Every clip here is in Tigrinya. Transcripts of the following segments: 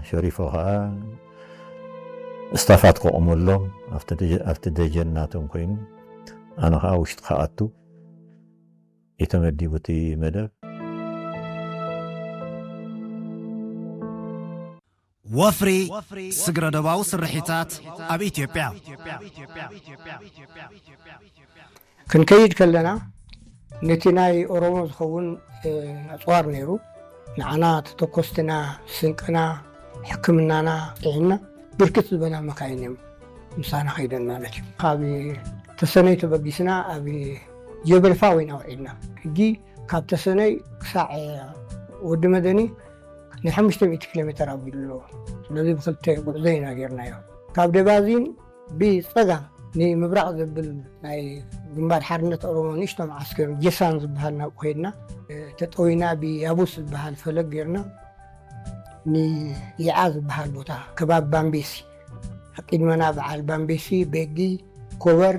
ሸሪፎ ከዓ ስታፋት ከቆመሎም ኣብቲ ደጀ-፣ ኣብቲ ደጀን ናቶም ኮይኑ፣ ኣነ ከዓ ውሽጢ ክኣቱ እዩ ተመዲቡ እቲ መደብ። ወፍሪ ስግረ ዶባዊ ስርሒታት ኣብ ኢትዮጵያ። ክንከይድ ከለና ነቲ ናይ ኦሮሞ ዝኸውን ኣፅዋር ነይሩ። ንዓና ተተኮስትና፣ ስንቅና፣ ሕክምናና ጥዒና ብርክት ዝበላ መካይን እዮም ምሳና ከይደን ማለት እዩ። ካብ ተሰነይ ተበጊስና ኣብ ጀበል ፋው ኢና ውዒልና። ሕጂ ካብ ተሰነይ ክሳዕ ወዲ መደኒ ናይ ሓሙሽተ ሚእቲ ኪሎ ሜትር ኣቢሉ ኣለዎ። ስለዚ ብክልተ ጉዕዞ ኢና ጌርናዮ። ካብ ደባዚን ብጸጋም ንምብራቕ ዘብል ናይ ግንባር ሓርነት ኦሮሞ ንእሽቶ መዓስከር ጀሳን ዝበሃል ናብኡ ከይድና፣ ተጠዊና ብያቡስ ዝበሃል ፈለግ ጌርና ንይዓ ዝበሃል ቦታ ከባቢ ባምቤሲ፣ ቅድመና በዓል ባምቤሲ፣ ቤጊ፣ ኮበር፣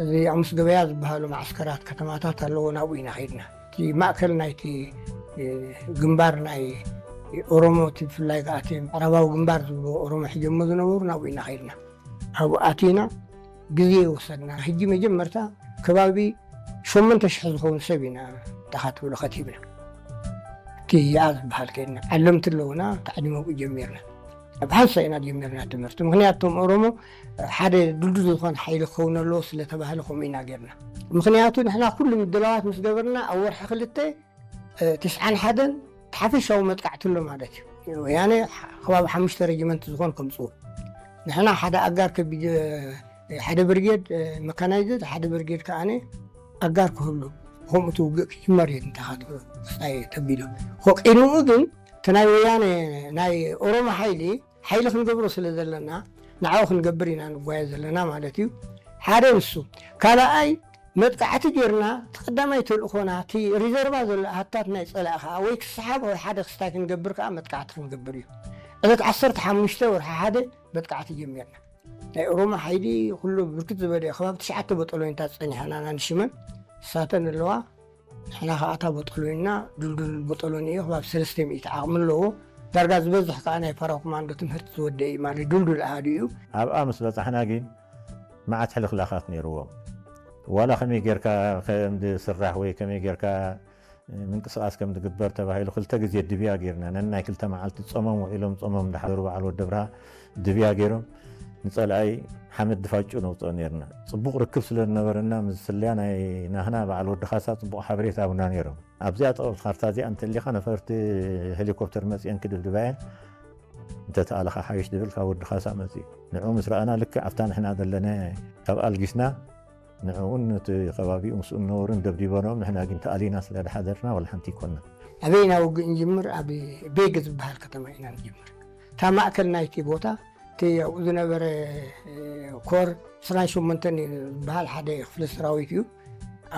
እዚ ኣሙስ ገበያ ዝበሃሉ መዓስከራት ከተማታት ኣለዎ። ናብኡ ኢና ከይድና። እቲ ማእከል ናይቲ ግንባር ናይ ኦሮሞ፣ እቲ ብፍላይ ከኣ እቲ ምዕራባዊ ግንባር ዝብልዎ ኦሮሞ ሕጀሞ ዝነበሩ ናብኡ ኢና ከይድና። ኣብኡ ኣቲና ግዜ ወሰድና። ሕጂ መጀመርታ ከባቢ ሸሞንተ ሽሕ ዝኸውን ሰብ ኢና ተኻትብሎ ከቲብና። እቲ ይኣ ዝበሃል ከይድና ዓለምቲ ኣለውና፣ ታዕሊሞብኡ ጀሚርና። ኣብ ሓንሳ ኢና ጀሚርና ትምህርቲ። ምኽንያቱ እቶም ኦሮሞ ሓደ ድልዱል ዝኾነ ሓይሊ ክኸውን ኣለዎ ስለተባህለ ከምኡ ኢና ጌርና። ምኽንያቱ ንሕና ኩሉ ምድላዋት ምስ ገበርና ኣብ ወርሒ ክልተ፣ እ፣ ትስዓን ሓደን ሓፈሻዊ መጥቃዕቲ ኣሎ ማለት እዩ። ወያነ ከባቢ ሓሙሽተ ሬጅመንት ዝኾን ከምፅኡ። ንሕና ሓደ ኣጋር ከቢድ፣ እ፣ ሓደ ብርጌድ፣ እ፣ መካናይዝድ፣ ሓደ ብርጌድ ከኣነ ኣጋር ክህሉ፣ ከምኡ እቲ ውግእ ክጅመር እዩ እንተኻትክስታይ ተቢሉ። ሆ ቅድሚኡ ግን እቲ ናይ ወያነ ናይ ኦሮሞ ሓይሊ፣ ሓይሊ ክንገብሮ ስለ ዘለና ንዓኡ ክንገብር ኢና ንጓየ ዘለና ማለት እዩ። ሓደ ንሱ። ካልኣይ መጥቃዕቲ ጌርና፣ እቲ ቀዳማይ ተልእኾና፣ እቲ ሪዘርቫ ዘሎ ኣሃታት ናይ ጸላኢ ኸኣ ወይ ክስሓብ ወይ ሓደ ክስታይ ክንገብር ከኣ መጥቃዕቲ ክንገብር እዩ። ዕለት ዓሰርተ ሓሙሽተ ወርሒ ሓደ መጥቃዕቲ ጀሚርና። ናይ ኦሮሞ ሓይሊ ኩሉ ብርክት ዝበለ እዩ። ከባቢ ትሽዓተ በጠሎኒታት ጸኒሐና ናንሽመን እሳተን ኣለዋ። ንሕና ኸኣ እታ በጠሎኒና ድልዱል በጠሎኒ እዩ። ከባቢ ሰለስተ ሚእቲ ዓቕሚ ኣለዎ። ዳርጋ ዝበዝሕ ከኣ ናይ ፓራ ኮማንዶ ትምህርቲ ዝወደ እዩ ማለት ድልዱል ኣሃዱ እዩ። ኣብኣ ምስ በጻሕና ግን መዓት ሕልኽላኻት ነይርዎም። ዋላ ከመይ ጌርካ ከም ዝስራሕ ወይ ከመይ ጌርካ ምንቅስቓስ ከም ዝግበር ተባሂሉ ክልተ ግዜ ድብያ ጌርና። ነናይ ክልተ መዓልቲ ጾሞም ውዒሎም ጾሞም እንዳሓደሩ በዓል ወዲ ብርሃ ድብያ ጌሮም ንጸላኣይ ሓመድ ድፋጩ ነውፅኦ ኔርና። ጽቡቕ ርክብ ስለ ዝነበረና ምስ ስለያ ናይ ናህና በዓል ወዲ ካሳ ጽቡቕ ሓበሬታ ኣብና ኔሮም። ኣብዚኣ ጥቕልቲ ካርታ እዚኣ እንተሊኻ ነፈርቲ ሄሊኮፕተር መጺአን ክድብድባየን እንተተኣለኻ ሓይሽ ድብል ካብ ወዲ ካሳ መጺኡ። ንዑ ምስ ረኣና ልክዕ ኣብታ ንሕና ዘለና ካብ ኣልጊስና ንዕኡን ነቲ ከባቢኡ ምስኡ ዝነበሩን ደብዲበኖም፣ ንሕና ግን ተኣሊና ስለ ዝሓደርና ዋላ ሓንቲ ኣይኮንና። ኣበይ ኢና ውግእ ንጅምር? ኣብ ቤግ ዝበሃል ከተማ ኢና ንጅምር። እታ ማእከል ናይቲ ቦታ እቲ ኣብኡ ዝነበረ ኮር ዕስራን ሸሞንተን ዝበሃል ሓደ ክፍለ ሰራዊት እዩ።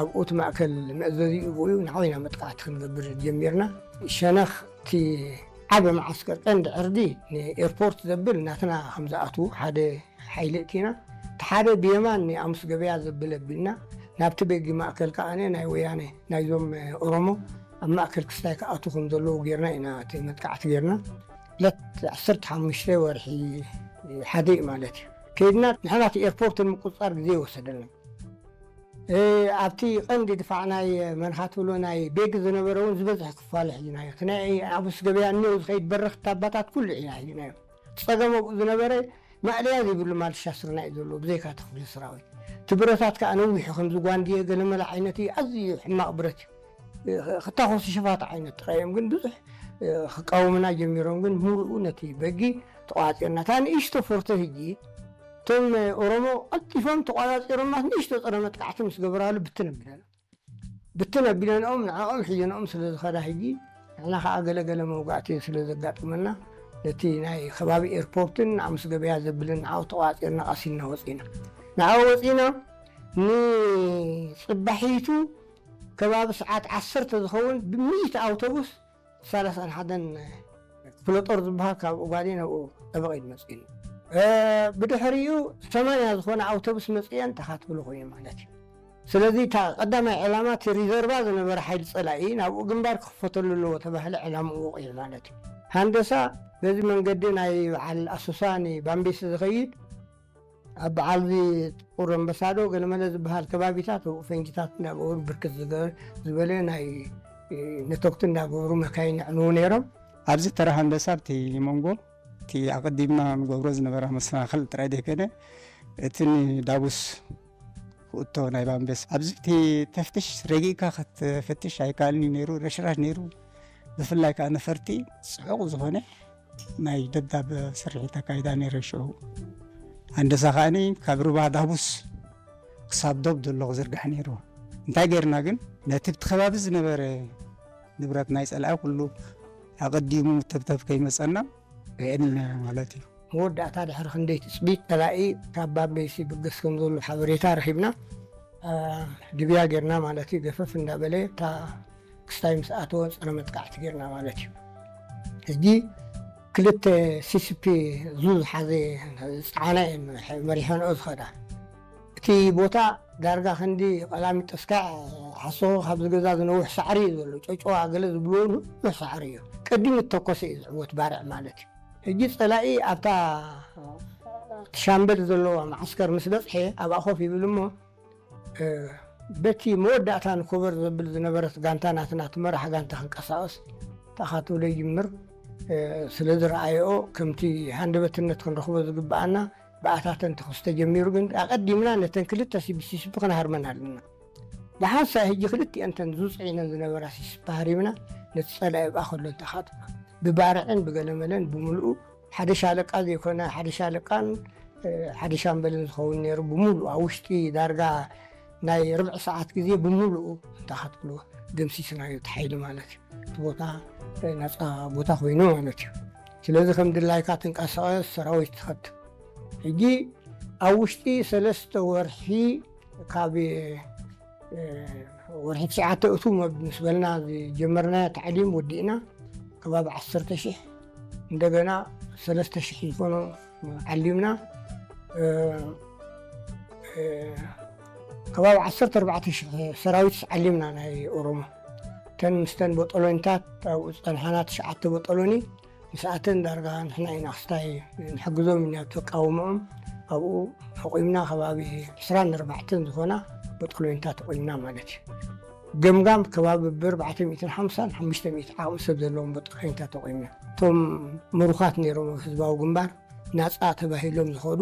ኣብኡ እቲ ማእከል መእዘዚኡ ብኡ እዩ። ንዓው ኢና መጥቃዕቲ ክንገብር ጀሚርና። ሸነኽ እቲ ዓቢ መዓስከር ቀንዲ ዕርዲ ንኤርፖርት ዘብል ናትና ከም ዝኣትዉ ሓደ ሓይሊ እቲና። እቲ ሓደ ብየማን ንኣሙስ ገበያ ዘብል ኣቢልና ናብቲ ቤጊ ማእከል ከኣ ናይ ወያነ ናይዞም ኦሮሞ ኣብ ማእከል ክስታይ ክኣቱ ከም ዘለዉ ጌርና ኢና እቲ መጥቃዕቲ ጌርና። ዕለት ዓሰርተ ሓሙሽተ ወርሒ ሓደ እዩ ማለት እዩ። ከይድና ንሕና እቲ ኤርፖርት ንምቁፅፃር ግዜ ይወሰደልና። እ፣ ኣብቲ ቀንዲ ድፋዕ ናይ መን ኻትብሎ ናይ ቤግ ዝነበረ እውን ዝበዝሕ ክፋሉ ሒዝናዮ። እቲ ናይ ኣሙስ ገበያ እኒኦ ዝኸይድ በረኽቲ ኣባታት ኩሉ ኢና ሒዝናዮ። እቲ ጸገም ኣብኡ ዝነበረ ማእለያ ዘይብሉ ማልሻ ስርና እዩ ዘለዎ፣ ብዘይካ እቲ ክፍሊ ሰራዊት። እቲ ብረታት ከኣ ነዊሑ ከምዚ ጓንድየ ገለመለ ዓይነት እዩ፣ ኣዝዩ ሕማቕ ብረት እዩ። እ፣ ክታኾሱ ሸፋት ዓይነት ጥራይ እዮም፣ ግን ብዙሕ፣ እ፣ ክቃወሙና ጀሚሮም፣ ግን ሙሉኡ ነቲ በጊ ተቋጺርና። እታ ንእሽቶ ፎርቶ ሕጂ እቶም ኦሮሞ ቀልጢፎም ተቋጻጺሮማ ንእሽቶ ጸረ መጥቃዕቲ ምስ ገበራሉ ብትን ኣቢለና። ብትን ኣቢለንኦም ንዕኦም ሒዘንኦም ስለ ዝኸዳ ሕጂ ንሕና ኸዓ ገለገለ መውጋእቲ ስለ ዘጋጥመና ነቲ ናይ ከባቢ ኤርፖርትን ንኣሙስ ገበያ ዘብልን ንዓኡ ተቋጺርና ቀሲልና ወጺና። ንዓኡ ወጺና ንጽባሒቱ ከባቢ ሰዓት ዓሰርተ ዝኸውን ብሚእቲ ኣውቶቡስ ሰላሳን ሓደን ክፍለ ጦር ዝበሃል ካብ ኦጋዴን ኣብኡ ጠበቕ ኢሉ መጺኡኒ። እ፣ ብድሕሪኡ ሰማንያ ዝኾነ ኣውቶቡስ መጺአን ተኻትብሉ ኮይኑ ማለት እዩ። ስለዚ እታ ቀዳማይ ዕላማ እቲ ሪዘርቫ ዝነበረ ሓይሊ ጸላኢ ናብኡ ግንባር ክኽፈተሉ ኣለዎ ተባህለ ዕላምኡ ወቒዑ ማለት እዩ። ሃንደሳ በዚ መንገዲ ናይ በዓል ኣሶሳ ንባምቤስ ዝኸይድ ኣብ በዓል እዚ ጥቁር ኣንበሳዶ ገለመለ ዝበሃል ከባቢታት ኣብኡ ፈንጅታት እንዳገበሩ ብርክት ዝገ- ዝበለ ናይ ነተኩቲ እንዳገበሩ መካይን የዕንዉ ነይሮም። ኣብዚ ተራ ሃንደሳ ኣብቲ መንጎ እቲ ኣቐዲምና ንገብሮ ዝነበረ መሰናኽል ጥራይ ዘይኮነ እቲ ንዳቡስ ክእቶ ናይ ባምቤስ ኣብዚ እቲ ተፍትሽ ረጊእካ ክትፈትሽ ኣይከኣልን እዩ ነይሩ። ረሽራሽ ነይሩ። ብፍላይ ከዓ ነፈርቲ ጽዑቕ ዝኾነ ናይ ደብዳብ ስርሒት ኣካይዳ ነይረ። ሽዑ ሃንደሳ ከዓኒ ካብ ሩባ ዳቡስ ክሳብ ዶብ ዘሎ ክዝርጋሕ ነይሩ። እንታይ ጌርና ግን ነቲ ብቲ ከባቢ ዝነበረ ንብረት ናይ ጸላኢ ኩሉ ኣቐዲሙ ተብተብ ከይመጸና ርኤን ማለት እዩ። መወዳእታ ድሕሪ ክንደይ ትጽቢት ጸላኢ ካብ ባምቤስ ይብገስ ከም ዘሎ ሓበሬታ ረኺብና። ድብያ ጌርና ማለት እዩ። ገፈፍ እንዳበለ እታ ክስታይ ምስ ኣተወ ጸረ መጥቃዕቲ ጌርና ማለት እዩ። ሕጂ ክልተ ሲሲፒ ዙ ዝሓዘ ዝጸዓና እየን መሪሐንኦ ዝኸዳ። እቲ ቦታ ዳርጋ ክንዲ ቀላሚጦስ ካብ ዓሶ ካብዚ ገዛ ዝነውሕ ሳዕሪ እዩ ዘሎ። ጨጨዋ ገለ ዝብልዎ ነዊሕ ሳዕሪ እዩ። ቀዲሙ እተኮሰ እዩ ዝዕወት ባርዕ ማለት እዩ። ሕጂ ጸላኢ ኣብታ እቲ ሻምበል ዘለዋ መዓስከር ምስ በጽሐ ኣብኣ ኮፍ ይብል እሞ በቲ መወዳእታ ንኮበር ዘብል ዝነበረት ጋንታ ናትና እቲ መራሕ ጋንታ ክንቀሳቐስ ተኻትሎ ይጅምር። ስለ ዝረኣየኦ ከምቲ ሃንደበትነት ክንረኽቦ ዝግብኣና ብኣታተን ተኹስ ተጀሚሩ። ግን ኣቐዲምና ነተን ክልተ ሲቢሲሲፒ ክንሃርመን ኣለና። ብሓንሳእ ሕጂ ክልቲአን ተን ዝውፅዒነን ዝነበራ ሲሲፒ ሃሪምና ነቲ ፀላኢ ኣብኣ ከሎ ተኻትሎ ብባርዕን ብገለመለን ብምልኡ ሓደ ሻለቃ ዘይኮነ ሓደ ሻለቃን ሓደ ሻምበልን ዝኸውን ነይሩ። ብምሉእ ኣብ ውሽጢ ዳርጋ ናይ ርብዒ ሰዓት ግዜ ብምሉኡ እንተ ክትብልዎ ደምሲስናዮ እቲ ሓይሊ ማለት እዩ። እቲ ቦታ ናፃ ቦታ ኮይኑ ማለት እዩ። ስለዚ ከም ድላይካ ትንቀሳቐስ ሰራዊት ትኸድ። ሕጂ ኣብ ውሽጢ ሰለስተ ወርሒ ካብ ወርሒ ትሽዓተ እቱ ምስ በልና ዝጀመርናዮ ታዕሊም ወዲእና ከባቢ ዓሰርተ ሽሕ እንደገና ሰለስተ ሽሕ ዝኾኑ ዓሊምና። ከባቢ ዓሰርተ ኣርባዕተ ሽሕ ሰራዊት ዓሊምና ናይ ኦሮሞ። እተን ምስተን ቦጦሎኒታት ኣብኡ ዝፀንሓና ትሽዓተ ቦጦሎኒ ምስኣተን ዳርጋ ንሕና ኢና ክስታይ ንሕግዞም ኢና ተቃውሞኦም ኣብኡ ኣቑምና ከባቢ ዕስራን ኣርባዕተን ዝኾና ቦጦሎኒታት ኣቑምና ማለት እዩ። ገምጋም ከባቢ ብኣርባዕተ ሚእትን ሓምሳን ሓሙሽተ ሚእቲ ዓቕሚ ሰብ ዘለዎም ቦጦሎኒታት ኣቑምና። እቶም ምሩኻት ነይሮም ኣብ ህዝባዊ ግንባር ናፃ ተባሂሎም ዝኸዱ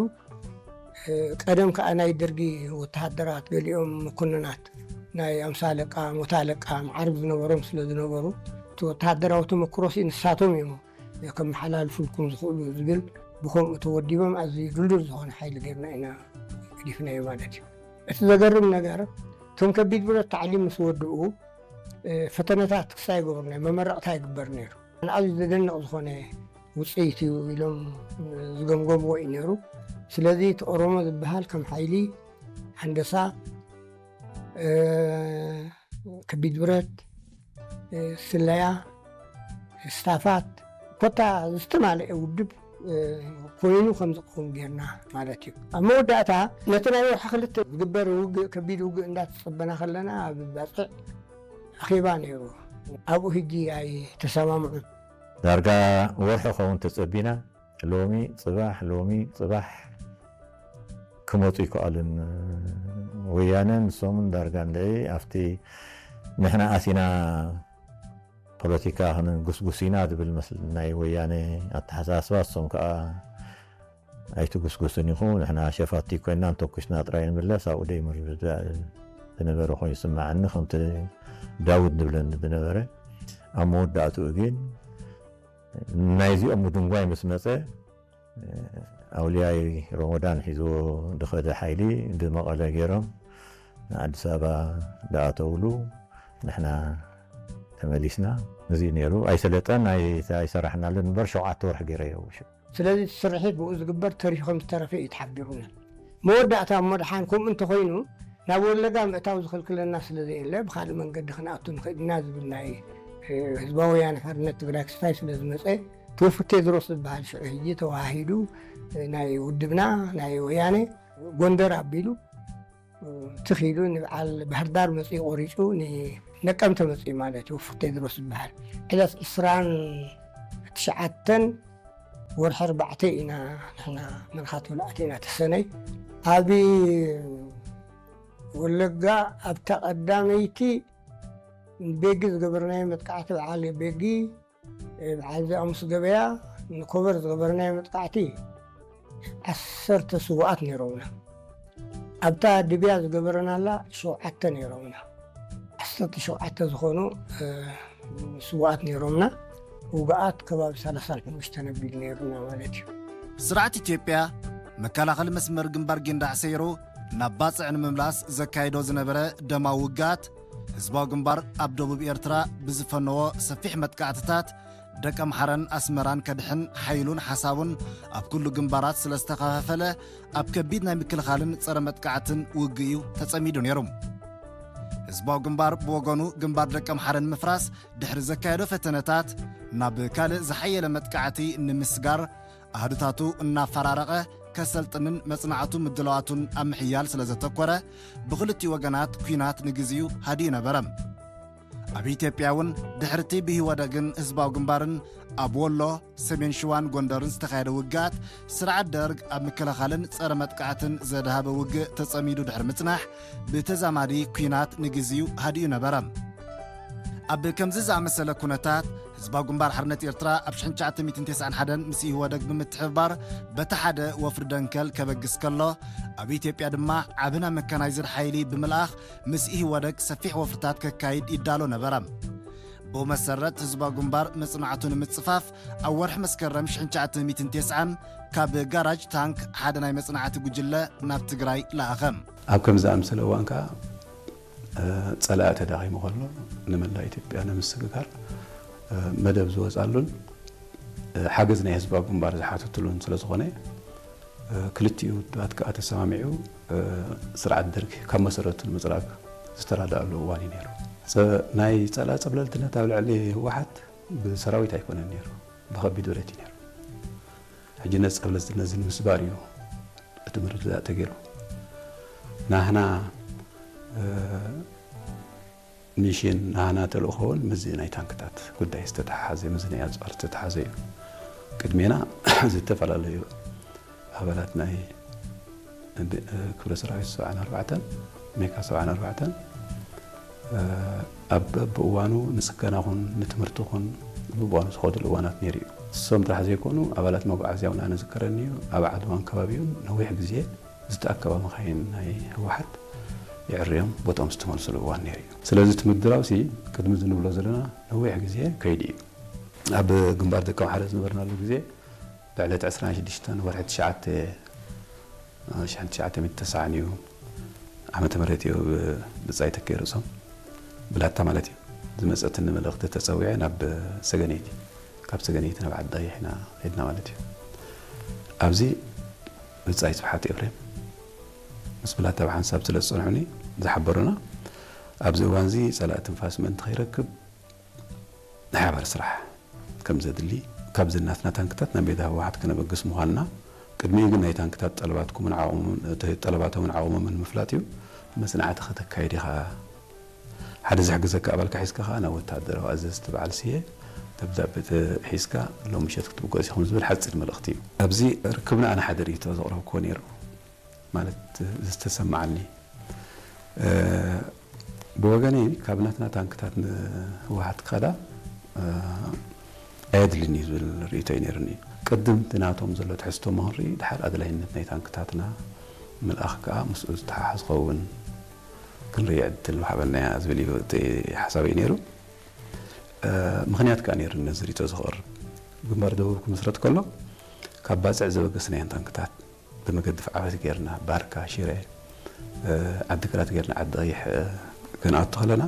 ቀደም ከዓ ናይ ደርጊ ወተሃደራት ገሊኦም መኮንናት ናይ ኣምሳ ኣለቃ ሞታ ኣለቃ መዓርግ ዝነበሮም ስለ ዝነበሩ እቲ ወተሃደራዊ ተመክሮሲ ንሳቶም እዮም ከመሓላልፉልኩም ዝኽእሉ ዝብል ብከምኡ ተወዲቦም ኣዝዩ ድልዱል ዝኾነ ሓይሊ ጌርና ኢና ገዲፍናዮ ማለት እዩ። እቲ ዘገርም ነገር እቶም ከቢድ ብረት ታዕሊም ምስ ወድኡ ፈተነታት ክስታይ ይገብሩ ነይሩ፣ መመረቕታ ይግበር ነይሩ። ንኣዝዩ ዘደንቕ ዝኾነ ውፅኢት እዩ ኢሎም ዝገምገምዎ እዩ ነይሩ። ስለዚ እቲ ኦሮሞ ዝበሃል ከም ሓይሊ ሃንደሳ፣ ከቢድ ብረት፣ ስለያ፣ ስታፋት ኮታ ዝተማለአ ውድብ ኮይኑ ከም ዝኸውን ጌርና ማለት እዩ። ኣብ መወዳእታ ነቲ ናይ ወርሒ ክልተ ዝግበር ውግእ ከቢድ ውግእ እንዳተፀበና ከለና ኣብ ባፅዕ ኣኼባ ነይሩ። ኣብኡ ሕጂ ኣይተሰማምዑን። ዳርጋ ወርሒ ኸውን ተጸቢና፣ ሎሚ ጽባሕ፣ ሎሚ ጽባሕ ክመጹ ይከኣሉን ወያነ ንሶምን ዳርጋ እንድዒ ኣብቲ ንሕና ኣቲና ፖለቲካ ክንጉስጉስ ኢና ዝብል መስል ናይ ወያነ ኣተሓሳስባ እሶም ከኣ ኣይትጉስጉስን ኢኹ፣ ንሕና ሸፋቲ ኮይና እንተኩስና ጥራይ ንምለስ ኣብኡ ደይምር ዝነበረ ኮይኑ ይስምዓኒ፣ ከምቲ ዳውድ ዝብለኒ ዝነበረ። ኣብ መወዳእትኡ ግን ናይዚኦም ምድንጓይ ምስ መጸ ኣውልያይ ሮሞዳን ሒዝዎ ዝኸደ ሓይሊ ብመቐለ ገይሮም ንኣዲስ ኣበባ ዝኣተውሉ ንሕና ተመሊስና። እዚ ነይሩ ኣይሰለጠን ኣይሰራሕናሉን እምበር ሸውዓተ ወርሒ ገይረዮ። ስለዚ እቲ ስርሒት ብኡ ዝግበር ተሪፉ ከም ዝተረፈ እዩ ተሓቢሩና። መወዳእታ እሞ ደሓን ከምኡ እንተኾይኑ ናብ ወለጋ ምእታው ዝኽልክለና ስለ ዘየለ ብኻልእ መንገዲ ክንኣቱ ንኽእል ኢና ዝብል ናይ ህዝባዊ ወያነ ሓርነት ትግራይ ክስታይ ስለ ዝመፀ ተወፍር ቴድሮስ ዝበሃል ሽዑ ሕጂ ተዋሂዱ ናይ ውድብና ናይ ወያነ ጎንደር ኣቢሉ ትኺሉ ንበዓል ባህርዳር መፅኡ ቆሪፁ ንነቀምተ መፅኡ ማለት እዩ። ወፍር ቴድሮስ ዝበሃል ዕለት ዕስራን ትሽዓተን ወርሒ ኣርባዕተ ኢና ንሕና መርካቶ ኣቲና ተሰነይ። ኣብ ወለጋ ኣብታ ቀዳመይቲ ቤጊ ዝገበርናዮ መጥቃዕቲ፣ በዓል ቤጊ፣ በዓል ዘኣሙስ ገበያ፣ ንኮበር ዝገበርናዮ መጥቃዕቲ ዓሰርተ ስውኣት ነይሮምና። ኣብታ ድብያ ዝገበረናላ ሸውዓተ ነይሮምና። ዓሰርተ ሸውዓተ ዝኾኑ ስውኣት ነይሮምና። ውግኣት ከባቢ ሰላሳን ሓሙሽተን ኣቢሉ ነይሩና ማለት እዩ። ስርዓት ኢትዮጵያ መከላኸሊ መስመር ግንባር ጊንዳዕ ሰይሩ ናብ ባጽዕ ንምምላስ ዘካይዶ ዝነበረ ደማዊ ውግኣት፣ ህዝባዊ ግንባር ኣብ ደቡብ ኤርትራ ብዝፈነዎ ሰፊሕ መጥቃዕትታት፣ ደቀምሓረን ኣስመራን ከድሕን ሓይሉን ሓሳቡን ኣብ ኩሉ ግንባራት ስለ ዝተኸፋፈለ፣ ኣብ ከቢድ ናይ ምክልኻልን ጸረ መጥቃዕትን ውግእ እዩ ተጸሚዱ ነይሩ። ህዝባዊ ግንባር ብወገኑ፣ ግንባር ደቀምሓረ ንምፍራስ ድሕሪ ዘካየዶ ፈተነታት፣ ናብ ካልእ ዝሓየለ መጥቃዕቲ ንምስጋር ኣህዱታቱ እናፈራረቐ ከሰልጥንን መጽናዕቱ ምድላዋቱን ኣብ ምሕያል ስለ ዘተኮረ፣ ብኽልቲኡ ወገናት ኲናት ንግዜኡ ሃዲኡ ነበረ። ኣብ ኢትዮጵያ እውን ድሕርቲ ብኢህወደግን ህዝባዊ ግንባርን ኣብ ወሎ፣ ሰሜን ሽዋን ጎንደርን ዝተኻየደ ውግኣት፣ ስርዓት ደርግ ኣብ ምክልኻልን ጸረ መጥቃዕትን ዘድሃበ ውግእ ተጸሚዱ ድሕሪ ምጽናሕ፣ ብተዛማዲ ኲናት ንግዜኡ ሃዲኡ ነበረ። ኣብ ከምዚ ዝኣመሰለ ኩነታት፣ ህዝባዊ ግንባር ሓርነት ኤርትራ ኣብ ሽሕን ትሽዓተ ሚእትን ተስዓን ሓደን ምስ ኢህወደግ ብምትሕብባር በቲ ሓደ ወፍሪ ደንከል ከበግስ ከሎ፣ ኣብ ኢትዮጵያ ድማ ዓቢ ናይ መካናይዝድ ሓይሊ ብምልኣኽ ምስ ኢህወደግ ሰፊሕ ወፍርታት ከካይድ ይዳሎ ነበረ። ብኡ መሰረት ህዝባዊ ግንባር መጽናዕቱ ንምጽፋፍ ኣብ ወርሒ መስከረም ሽሕን ትሽዓተ ሚእትን ተስዓን ካብ ጋራጅ ታንክ ሓደ ናይ መጽናዕቲ ጉጅለ ናብ ትግራይ ለኣኸ። ኣብ ከምዚ ዝኣምሰለ እዋን ከኣ ጸላኢ ተዳኺሙ ከሎ ንመላእ ኢትዮጵያ ንምስግጋር መደብ ዝወጻሉን ሓገዝ ናይ ህዝባዊ ግንባር ዝሓተትሉን ስለ ዝኾነ፣ ክልቲኡ ውድባት ከኣ ተሰማሚዑ ስርዓት ደርጊ ካብ መሰረቱ ንምጽራግ ዝተራድኣሉ እዋን እዩ ነይሩ። ናይ ጸላኢ ጸብለልትነት ኣብ ልዕሊ ህወሓት ብሰራዊት ኣይኮነን ነይሩ፣ ብኸቢድ ብረት እዩ ነይሩ። ሕጂ ነዚ ጸብለልትነት እዚ ንምስባር እዩ እቲ ምርድዳእ ተገይሩ። ናህና ሚሽን ናህና ተልእኾ እውን ምስዚ ናይ ታንክታት ጉዳይ ዝተተሓሓዘ፣ ምስዚ ናይ ኣፅዋር ዝተተሓዘ እዩ። ቅድሜና ዝተፈላለዩ ኣባላት ናይ ክብረ ሰራዊት ሰብዓን ኣርባዕተን ሜካ ሰብዓን ኣርባዕተን ኣብ በብእዋኑ ንፅገና ኹን ንትምህርቲ ኹን በብእዋኑ ዝኸዱሉ እዋናት ነይሩ እዩ። እሶም ጥራሕ ዘይኮኑ ኣባላት መጓዓዝያ እውን ኣነ ዝከረኒ እዩ። ኣብ ዓድዋን ከባቢኡን ነዊሕ ግዜ ዝተኣከባ መኻይን ናይ ህወሓት የዕርዮም ቦትኦም ዝተመልስሉ እዋን ነይሩ እዩ። ስለዚ እቲ ምድራውሲ ቅድሚ እዚ ንብሎ ዘለና ነዊሕ ግዜ ከይዱ እዩ። ኣብ ግንባር ደቀምሓረ ዝነበርናሉ ግዜ ብዕለት ዕስራን ሽዱሽተን ወርሒ ትሽዓተ ሽሕን ትሽዓተ ሚእትን ተስዓን እዩ ዓመተ ምህረት እዩ ብብጻይ ተኪኤ ርእሶም ብላታ ማለት እዩ ዝመጸትኒ መልእኽቲ ተጸዊዐ ናብ ሰገነይቲ፣ ካብ ሰገነይቲ ናብ ዓዲ ቀይሕ ኢና ኸድና ማለት እዩ። ኣብዚ ብጻይ ስብሓት ኤፍሬም ምስ ብላታ ብሓንሳብ ስለ ዝጸንሑኒ ዝሓበሩና፣ ኣብዚ እዋን እዚ ጸላኢ ትንፋስ ምእንቲ ከይረክብ ናይ ሓባር ስራሕ ከም ዘድሊ፣ ካብዚ ናትና ታንክታት ናብ ሜዳ ህወሓት ከነበግስ ምዃንና፣ ቅድሚኡ ግን ናይ ታንክታት ጠለባትኩምን ዓቕሞምን፣ እቲ ጠለባቶምን ዓቕሞምን ምፍላጥ እዩ። መጽናዕቲ ከተካይድ ኢኻ። ሓደ ዝሕግዘካ ኣባልካ ሒዝካ ከኣ ናብ ወተሃደራዊ ኣዘዝቲ በዓል ስየ ደብዳበ ተ- ሒዝካ ሎም ምሸት ክትብገስ ኢኹም ዝብል ሓጺር መልእኽቲ እዩ። ኣብዚ ርክብና ኣነ ሓደ ርእይቶ ዘቕረብክዎ ነይሩ። ማለት ዝተሰማዓኒ፣ ብወገነይ ካብ ናትና ታንክታት ንህወሓት ክኸዳ ኣየድልን እዩ ዝብል ርእይቶ እዩ ነይሩኒ። ቅድም እቲ ናቶም ዘሎ ትሕዝቶ ምህንርኢ ድሓር ኣድላይነት ናይ ታንክታትና ምልኣኽ ከኣ ምስኡ ዝተሓሓዝ ክኸውን ክንርኢ ዕድል ምሃበና እያ ዝብል እዩ እቲ ሓሳብ እዩ ነይሩ። ምኽንያት ከኣ ነይሩ ነዚ ርእይቶ ዝቕርብ። ግንባር ደቡብ ክምስረት ከሎ ካብ ባጽዕ ዘበገስናየን ታንክታት ብመገዲ ፍዓበት ጌርና ባርካ፣ ሽረ፣ ዓዲግራት ጌርና ዓዲ ቀይሕ ክንኣቱ ከለና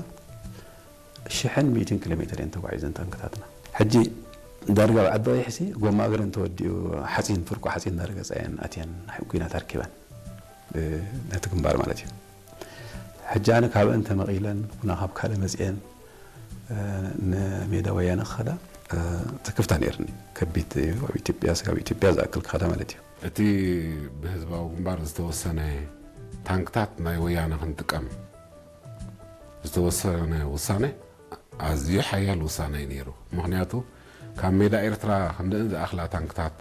ሽሕን ሚእትን ኪሎ ሜትር እየን ተጓዒዘን ታንክታትና። ሕጂ ዳርጋ ኣብ ዓዲ ቀይሕሲ ጎማ እግረን ተወዲኡ ሓፂን ፍርቁ ሓፂን እናረገፃ እየን ኣትየን ኩናት ኣርኪበን ነቲ ግንባር ማለት እዩ። ሕጂ ኣነ ካብአን ተመቒለን ኩና ካብ ካልእ መፅአን ንሜዳ ወያነ ክኸዳ ትክፍታ ነይርኒ። ከቢድ እዩ ኣብ ኢትዮጵያ ስጋብ ኢትዮጵያ ዝኣክል ክኸዳ ማለት እዩ። እቲ ብህዝባዊ ግንባር ዝተወሰነ ታንክታት ናይ ወያነ ክንጥቀም ዝተወሰነ ውሳነ ኣዝዩ ሓያል ውሳነ እዩ ነይሩ። ምክንያቱ ካብ ሜዳ ኤርትራ ክንደን ዝኣኽላ ታንክታት